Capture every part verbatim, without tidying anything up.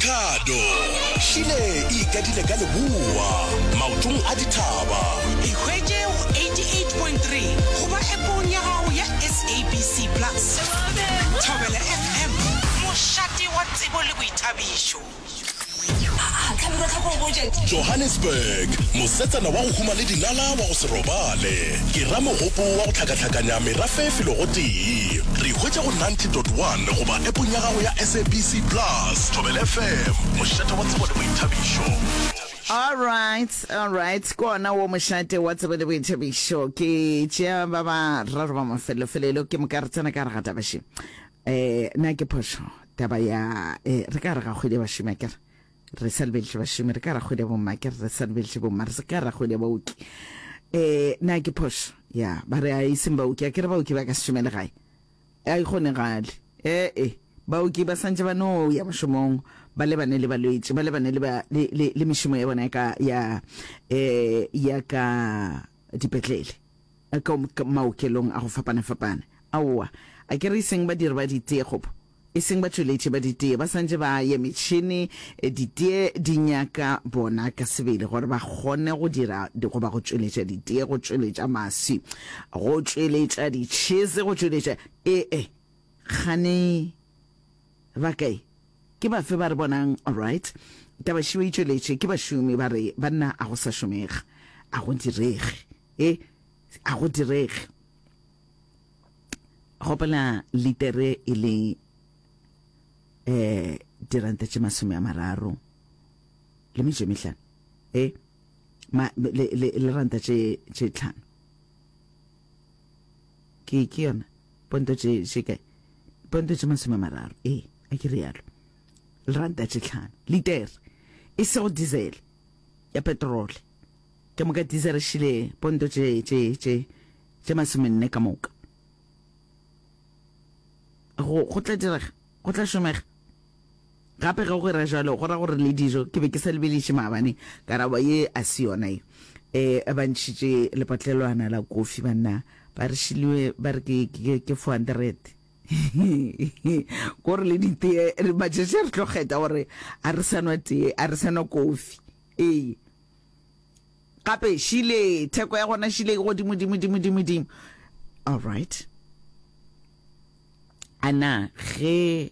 Makhado šile e ikadile ka leboa maotong a dithaba. E hwetše go eighty-eight point three goba appong ya gago ya S A B C Plus. Thobela F M, mošate wa tsebo le boithabišo. Johannesburg, mosetsana wa go huma le dinala wa go se robale. Ke ra mogopo wa go hlakahlakanya merafe felo gotee. Re hwetša go ninety dot one goba appong ya gago ya S A B C Plus. Thobela F M, mošate wa tsebo le boithabišo. Alright, alright, ke ona wo mošate wa tsebo le boithabišo. Ke tšea ba ba raro ba mafelofelelo ke moka re tsena ka gare ga taba še. Eh, na ke phošo taba ya eh, re ka re ga kgwedi ya bašomi akere re sa lebeletše bašomi, re ka ra kgwedi ya bomma akere re sa lebeletše bomma, re se ka ra kgwedi ya baoki. Eh, na ke phošo ya ba re a e seng baoki akere baoki ba ka se šomele gae? A e kgonegale. Ee, baoki ba santše ba no ya mošomong ba lebane le balwetši, ba lebane le, ba, le, le, le mešomo ya bona ya ka, ya, eh, ya ka dipetlele, ka, ka maokelong a go fapana-fapana. Aowa, a ke re e seng badiri ba ditee gobo e seng batšweletši ba ditee, ba santše ba ye metšhene, ditee di nyaka bona ka sebele gore ba kgone go dira goba go tšweletša ditee, go tšweletša maswi, go tšweletša ditšhese, go tšweletša ee, kgane ba kae? Ke bafe ba re bonang? Alright, taba šeo e tšweletše ke bašomi ba re banna a go sa šomega, a go direge, e a go direge. Gopola litere e le eh diranta tše masome a mararo le metšo e mehlano, e ma le le le ranta tše tše tlhano, ke ke yona ponto tše tše kae, ponto tše masome a mararo, e a ke rialo, le ranta tše tlhano litere, e sego diesel ya petrole ke moka. Diesel šile ponto tše tše tše tše masomenne ka moka. Go go tla direga, go tla šomega gape ge go ra jalo, go ra gore le dijo. Ke be ke sa lebeliše maabane karabo ye a se yona ye um ba ntšhitše lepatlelwana la kofi, banna ba re šiliwe, ba re ke ke ke four hundred kore le ditee matšatši re tlo kgetha gore a re sa nwa tee, a re sa nwa kofi. Ee, gape šile theko ya gona šile e godimo dimo dimo dimo dimo. Alright, ana ge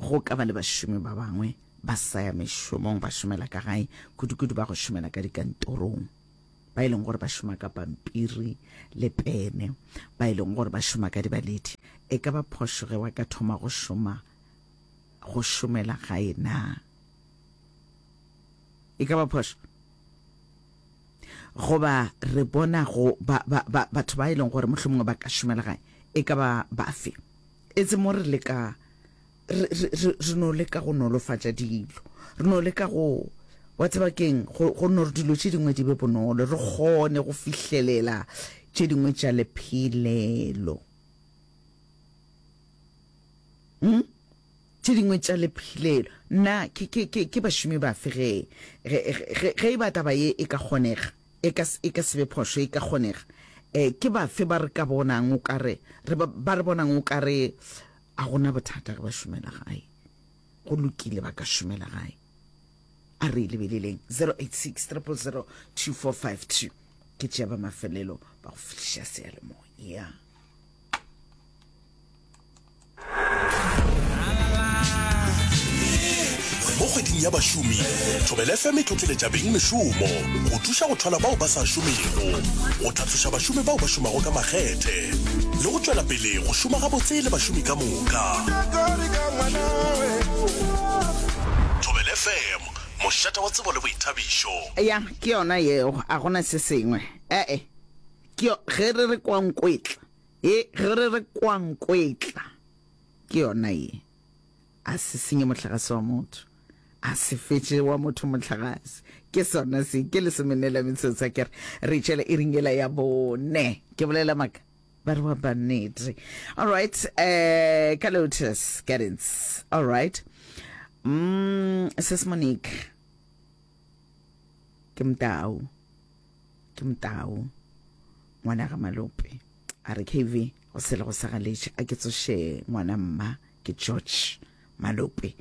go ka ba le bašomi ba bangwe ba sa ya mešomong, ba šomela ka gae, kudu-kudu ba go šomela ka dikantorong, ba e leng gore ba šoma ka pampiri le pene, ba e leng gore ba šoma ka dibaledi, e ka ba phošo ge wa ka thoma go šoma go šomela gae? Na e ka ba phošo goba re bona go ba, ba, ba, batho ba e leng gore mohlomongwe ba ka šomela gae e ka ba bafe? Etse mo re leka re, re, re, re no leka go nolofatša dilo, re no leka go wa tseba keng, go, go no re dilo tše dingwe di be bonolo, re kgone go fihlelela tše dingwe tša lephelelo, hmm? Tše dingwe tša lephelelo. Nna ke, ke, ke, ke bašomi bafe ge ge ge ge e ba taba ye e ka kgonega, e ka e ka se be phošo, e ka kgonega, eh ke bafe ba re ka bonang o ka re re ba, ba re bonang o ka re a gona bothata ge ba šomela gae, go lokile ba ka šomela gae? A re lebeleleng zero eight six zero zero zero two four five two. Ke tšea ba mafelelo ba go fihliša seyalemoya. Mo kgweding ya bašomi, Thobela F M e tlotleletša beng mešomo go thuša go thwala bao ba sa šomego, go tlhatloša bašomi bao ba šomago ka makgethe, le go tšwela pele go šoma gabotse le bašomi ka moka. Thobela F M, mošate wa tsebo le boithabišo. Ya ke yona yeo, a gona se sengwe. Ee, ke yo ge re re kwankwetla, e ge re re kwankwetla ke yona ye. A se senye mohlagase wa motho, a se fetše wa motho mohlagase. Ke sona se ke lesomenne la metsotso ke re re tšwele e ringela ya bone. Ke bolela maka ba re wa bannete. Alright, eh ka Lotus Gardens. Alright, mm sis Monique, ke motau, ke motau ngwana ga Malope, a re K V go sele go sa galetše, a ke tsoše ngwana mma ke George Malope.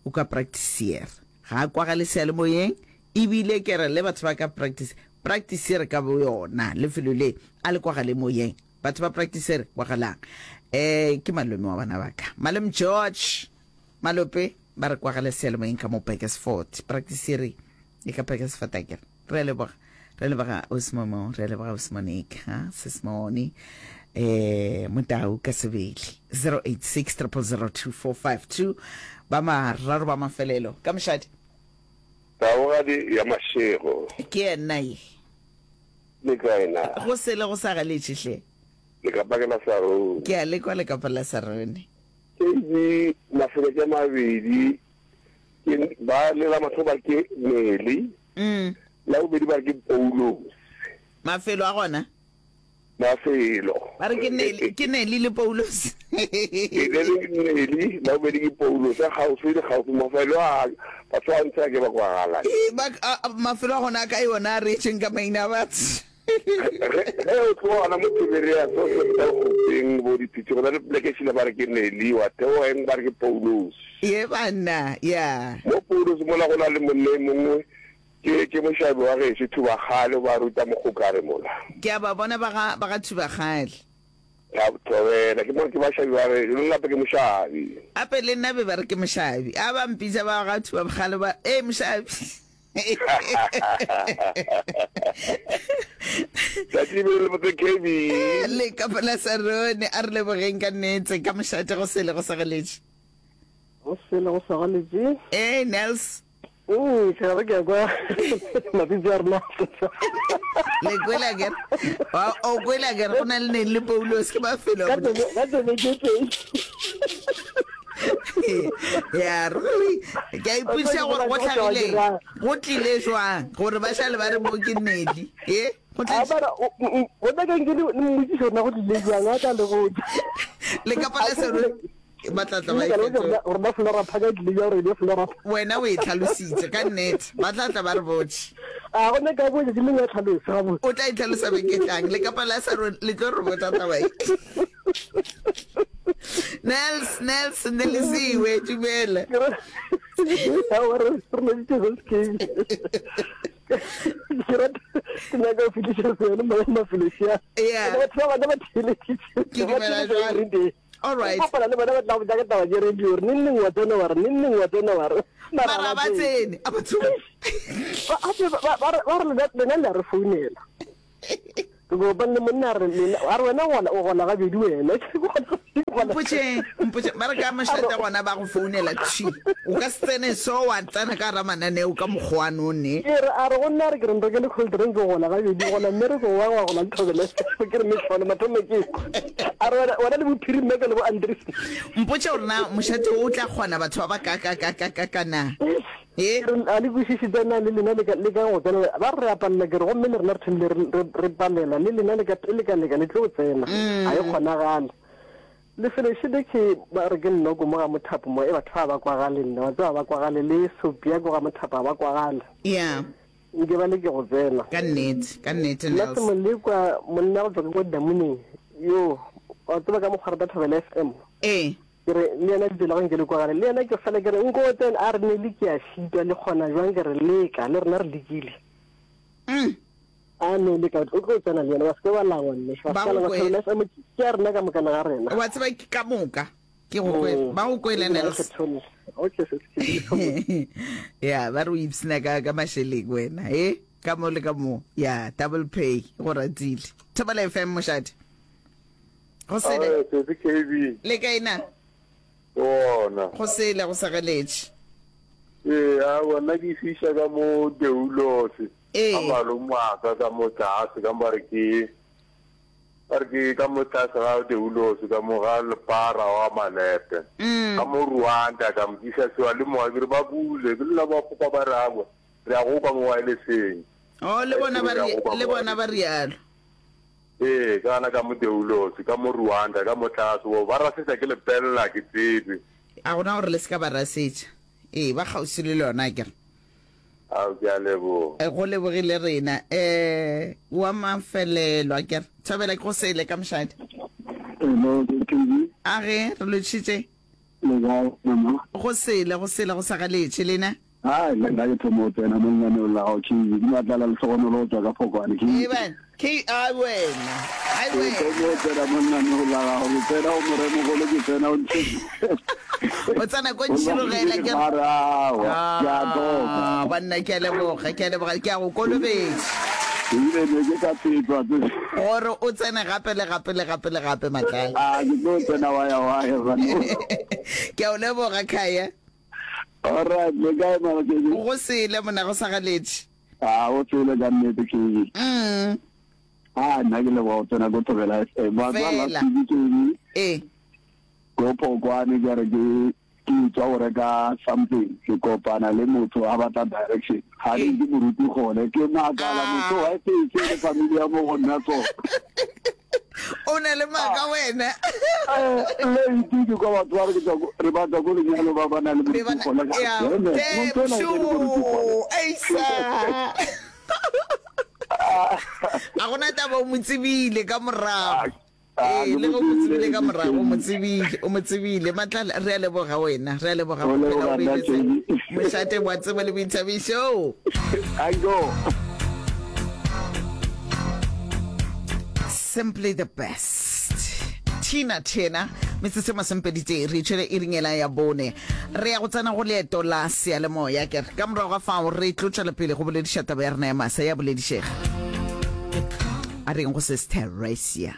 o ka practiceer ga a kwagale seyalemoyeng ebile ke re le batho ba ka practice practiceer ka bo yona lefelo le a le kwagale moyeng batho ba practiceer kwagalang um ke malome wa bana ba ka malome George Malope ba re kwagale seyalemoyeng ka mo Burgersfort practiceer e ka Burgersfort akere re a leboga re leboga osmomo re leboga osmonica sesmone eh motau ka sebele zero eight six triple zero two four five two ba mararo ba mafelelo ka mošadi Taugadi ya Mashego. Ke yena ye. Le kae na? Go sele go sa galetše hle. Lekapa ke la Sarone. Ke a le kwa lekapa la Sarone. K B mafelo ke mabedi ke ba le la mathomo ba re ke Nelly, Mm. la bobedi ba re ke Paulos. Mafelo a gona? Mafelo. Ba re ke Nelly, ke Nelly le Paulos. Ke le le Nelly, la bobedi ke Paulos, a kgauswi le kgauswi mafelo a batho ba ntse a ke ba kwagala. Ee, ba a, a, mafelo a gona a kae ona a reetšeng ka maina a batho. Ge, ge o tloga gona mo Tiberias, o feta Gopeng, bo Dipitsi, go na le poleke šila ba re ke Nelly, wa theoga eng ba re ke Paulos. Ye banna, ya. Mo Paulos mola go na le monna e mongwe, ke, ke mošabi wa gešo, Thubakgale, o ba ruta mokgokare mola. Ke a ba bona ba ga, ba ga Thubakgale. Ka thobela, ke mo ke bašabi ba gešo, le nna gape ke mošabi. Gape le nna be ba re ke mošabi. A ba mpitša ba ga Thubakgale ba, ee mošabi. Tšatši be le botse K B. Le ka pela Sarone, a re lebogeng ka nnete ka mošate go sele go segeletše. Go sele go segeletše. Ee, Nels. Mm, ke gare ke ya kwa mapitsi a rena. Le kwele akere? Wa- O kwele akere go na le neng le Paulos ke mafelo a Ka tsebe ka tsebe ke pedi. Ya ruri ke a ipotšiša gore go hlagileng go tlile jwang gore ba šale ba re mo ke Nelly e go tlile go tla keng ke le mmotšiša gore na go tlile jwang a tla le botša le ka pala sero ba tla tla ba e fetola gore na Flora Park e tlile jang gore e be Flora Park wena o e tlhalositse ka nnete ba tla tla ba re botše a go nyaka bo tšatši lengwe ya tlhalosa gabotse o tla e tlhalosa beke e tlang le ka pala sero le tlo re botša taba e Nels, Nels, Nelisiwe, dumela. Ke rata ke nyaka go fetiša seno mo mafelošia. Yeah. Batho ba bana ba theeleditše. Ke dumela jwalo. All right. Kopana le bona ba tla go botša ka taba tše radio gore neng neng wa tsena wa re neng neng wa tsena wa re. Mara ba tsene. A ba tsene. Ba ba re lena le a re founela. Ke kopane le monna a re lena a re wena gola o gola gabedi wena. Mpotše mpotše ba re ka mošate gona ba go founela thwi o ka se tsene so wa tsena ka gara mananeo ka mokgwa no ne. Ke re a re go nna a re ke re nrekele cold drink ke gola gabedi gola mmereko wa wa gola le thobela ke re mehlolo mathomo ke kwa a re wena wena le bo Phiri Mmeke le bo Andries. Mpotše gore na mošate wo o tla kgona batho ba ba ka ka ka ka ka ka na. Ke re, A le kwešiše tša na le lena le ka leka go tsena? Ba re, Re a palela. Ke re, Gomme le rena re thomile re, re, re palela. Le lena le ka, le ka leka, le tlo tsena. Ga e kgonagale. Lefelo šele ke, ba re ke Nnoko mo ga Mothapo mo, e batho ba ba kwagale nna, wa tseba ba kwagale, le Sopia ko ga Mothapo ga ba kwagale. Ya. Nke ba leke go tsena. Ka nnete, ka nnete, Nna Nels. Semolekwa, monna go tšwa ka kwa Damoneng, yo, wa tseba ka mokgwa rata Thobela F M. Ee. Ke re, le yena lebitso la gagwe nke le kwagale. Le yena ke fela ke re, nko o tsene. A re, Nelly ke a šitwa, le kgona bjang? Ke re, leka, le rena re lekile. Mm. A no leka, o tlo tsena le yena, wa se ke wa langwa mme. Wa se Ba ke wa go langwa, kwele. Thobela F M ke ya rena ka mokana ga rena. Wa tseba ke ka moka. Ke go kwele. Mm. Ba go kwele, Ebile ga Nels. kgetholle. Okay, sis, ke le thobela. Ya, ba re o ipshina ka, ka mašeleng wena, he? Ka mo le ka mo. Ya, double pay, go ratile. Thobela F M, mošate. Go sele. Ae, sesi K B. Le kae na? Gona. Go sele, go segeletše. Ee, aowa, nna ke fiša ka mo Deulose. Ee. Ka malome wa ka ka mo tlase, ka mo ba re ke, ba re ke ka mo tlase ga Deulose, ka mo ga Lepara wa Malepe. Mm. Ka mo Rwanda, ka mo tliša sewa le moya, ke re ba bule, ke lla ba kgopa ba re aowa, re ya go kwa mo wirelesseng. Oh, le bona ba Re ya re, go kwa le mo bona ba rialo. Ee, ka gana ka mo Deulose, ka mo Rwanda, ka mo tlase, bo ba rasetša ke lepella, ke tsebe. A gona gore le se ka ba rasetša. Ee, ba kgauswi le lona, akere. Ao, ke a leboga. Go lebogile rena. Eh, wa mafelelo, akere. Thobela ke go sele ka mošadi. Hello, ke K B. A ge, re lotšhitše. Le kae mama? Go sele, go sele, go sa galetše lena. Hai, le nna ke thoma go tsena mo lenaneong la gago K. Ke Matlala Lehlogonolo go tšwa ka Phokwane K. Amen. K ai wena. Ai Ke wena. thoma go tsena mo lenaneong la gago, ke tsena go Moremogolo, ke tsena o ntšhe. O tsena ko ntšhirogela ke re. Mara aowa, ke a toka. Ah, banna ke a leboga, ke a leboga, ke a go kolobetša. Ebile ne ke ka fetwa tse. Gore o tsene gape le gape le gape le gape Matlala. Ah, ke tlo tsena wa ya wa ya bana. Ke a o leboga Khaya. All right, le kae mama K G? Go sele mona go sa galetše. Ah, o tsele ka nnete K G. Mm. Ah, nna ke leboga go tsena ko Thobela F M. Wa tseba Fela. last week ke eng? Eh. Ko Phokwane ke re ke ke tswa go reka something, ke kopana le motho a batla direction. Ga Eh. ke moruti gone, ke makala Ah. motho wa e se le family ya mo go nna so. O na le maaka wena. Eh, le itse ke kwa batho ba re ke tswa ko- re batla ko lenyalo ba ba na le Be ba moruti gone. na- ya, Amen. damn, Motho ena e le moruti gone. sure. Aisa. A gona taba o mo tsebile ka morago. Ah, Ee, ke le ge o mo mo tsebile tsebile, ka ke morago o mo tsebile. tsebile, o mo tsebile. Matlala, re a leboga wena, re a leboga O go phela leboga o nna, beeletse Jane. mošate wa tsebo le boithabišo. I go. Simply the best. Tina Tina, metsotso e masomepedi re tšwele e ringela ya bone. Re ya go tsena go leeto la seyalemoya ke re ka morago ga fao re tlo tšwela pele go bolediša taba ya rena ya masa ya boledišega. A reng go sis Teresia.